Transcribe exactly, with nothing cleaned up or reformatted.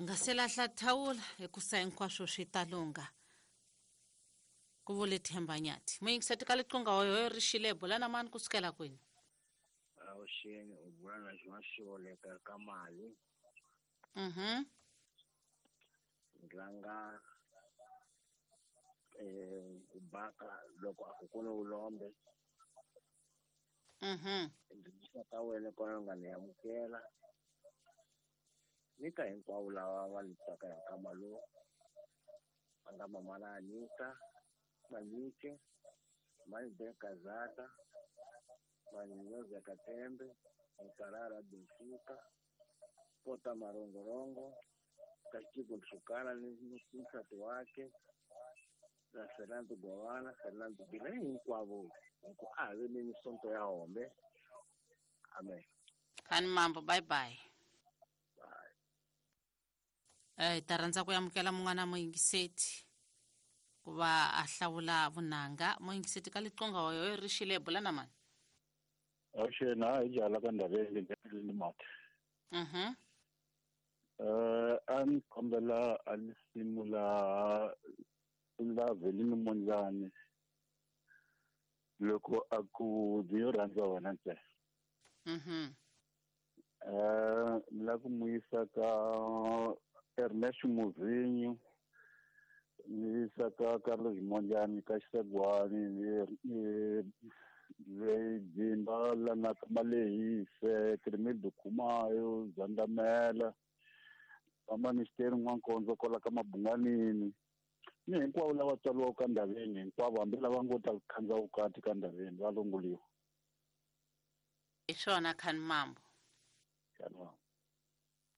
U nga se lahla thawula hikusa hinkwaswo swi ta lungha, ku vule Themba Nyathi. Muyingiseti ka liqunga hoyo ri xile, bula na mani kusukela kwini? Avuxeni, u bula na xona xioleka ka mali. Mhm. Ndlanga eh ku baka loko a ku kona u lombe. Mhm. Ndzi ka wena kona nga ni amukela. Ni ka hinkwavo lava va ni tsaka hi nkama lowu. Va nga mama na Anita, Manyike, Mani Kazata, Manyoza Katembe, Mukarara Benfica, Pota Marongorongo, Kachiko Nsukana ni nsati wake, na Fernando Gowana, Fernando Bila, hinkwavo. Hinku a ve ni sonto ya hombe. Amen. Khani mambo, bye bye. Bye. Eh, ta rhandza ku amukela mun'wana muyingiseti ku va a hlawula vunanga. Muyingiseti ka liqunga hoyo ri xile, bula na mani? Avuxeni, a hi jala ka Ndaveni ni mati. Mhm. Eh, a ni kombela a lisimu la la Velini Mondlani loko a ku ndzi yo rhandza wena ntsena. Mhm. Eh, ni lava ku n'wi yisa ka Ernest Muvinyo, ni yisa ka Carlos Mondlani ka Xisegwani, ni ni Dzimba la na ka Malehise, Crimildo Khumayo, Zandamela, Vamanisteri N'wankondzo kwala ka Mabunganini, ni hinkwavo lava tswariwaka ka Ndaveni hinkwavo, hambi lava ngo ta khandza vukati ka Ndaveni va lunguliwa. Hi swona, Khani mambo. Khani mambo.